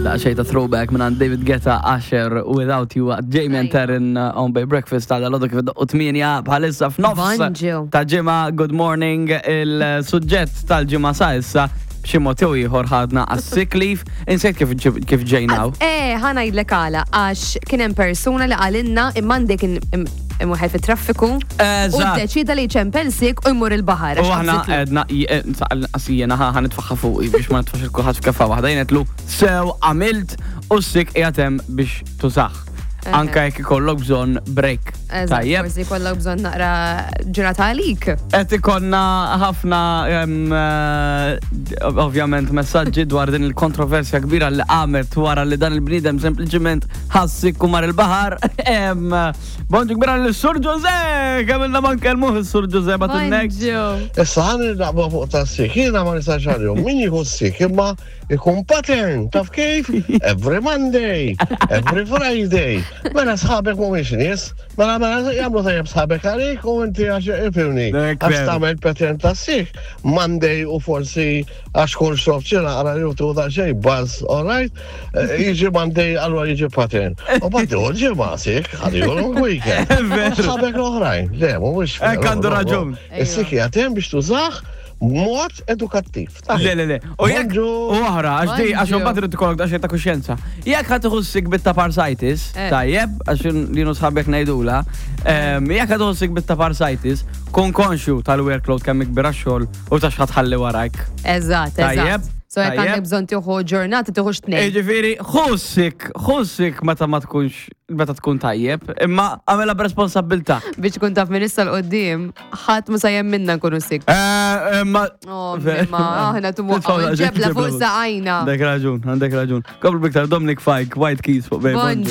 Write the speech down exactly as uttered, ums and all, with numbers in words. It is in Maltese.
Daqsxejn ta' throwback minn David Guetta, Usher, Without You, Jamie and Taryn uh, on Bay Breakfast ta' dal kif u tmienja bħalissa f'nofs Bonġu. ta' ġimgħa. Good morning, il-suġġett tal-ġimgħa sa issa b'xi mod jew ieħor ħadna għas-sick leave. Insejt kif ġib- kif ġejnaw. Eh, ħa ngħidlek għala, għax kien hemm persuna li qalilna imma għandek imweħel fit-traffiku u Eżatt. deċida li jċempel sick u jmur il-baħar. U għax aħna qabżitlu. għedna, jiena ħa nitfagħha fuqi biex ma nitfax il-kulħadd f'kefa waħda. Jien għedtlu sew għamilt u s-sick qiegħed hemm biex tużah. Anka jekk ikollok bżonn break. Eżatt, Tajjeb. forsi kollok bżonn naqra ġurnata għalik. Qed ikollna ħafna em, eh, ovvjament messaġġi dwar din il-kontroversja kbira li qamet wara li dan il-bniedem sempliċiment ħa s-sick u mar il-baħar. Em, Bonġu kbira l-Sur Jose! Kemm ilna ma nkellmuh is-Sur Jose bat il-nek. Bonġu. Issa ħan naqba fuq ta' sick, jiena ma nistax għalihom, min jieħu sick imma ikun pattern, taf kif? Every Monday, every Friday. Mela sħabek mhumiex nies, mela mela jagħmlu tajjeb sħabek għalik u inti għax ifhimni. Dak Għax veru. tagħmel pattern ta' sick, Monday u forsi għax kun xrobt xi naqra li tu ta' xejn buzz, all right? Eh, Jiġi Monday allura jiġi pattern. U bad jieħu ġimgħa sick, ħalli long weekend. Veru. U Sħabek l-oħrajn, le, mhuwiex Hekk għandu raġun. Is-sick qiegħed biex tużah mod edukattiv. Le, le, le. U jekk Bonġu. u oħra, għax di, għax Bonġu. mbagħad irid ikollok daqsxejn ta' kuxjenza. Jekk ħa tieħu sick bit-ta' parsitis, Eh. tajjeb, għax lilu sħabek ngħidula, em, jekk ħa tieħu sick bit-ta' parsitis, kun konxju tal-workload kemm ikbir għax-xogħol u ta' x'ħa tħalli warajk. Eżatt, Tajjeb, eżatt. So jekk tajjeb. għandek bżonn tieħu ġurnata tieħu tnejn. Ġifieri, ħu sick, ħu sick meta ma tkunx, meta tkun tajjeb, imma għamela b'responsabbiltà. Biex tkun taf minn issa 'l quddiem, ħadd ma sa minna nkunu sick. Eh, Imma. Oh, imma aħna tumu ġebla fuq saqajna. Għandek raġun, għandek raġun. Komplu biktar Dominic Fike, White Keys fuq Bay. Bonġu.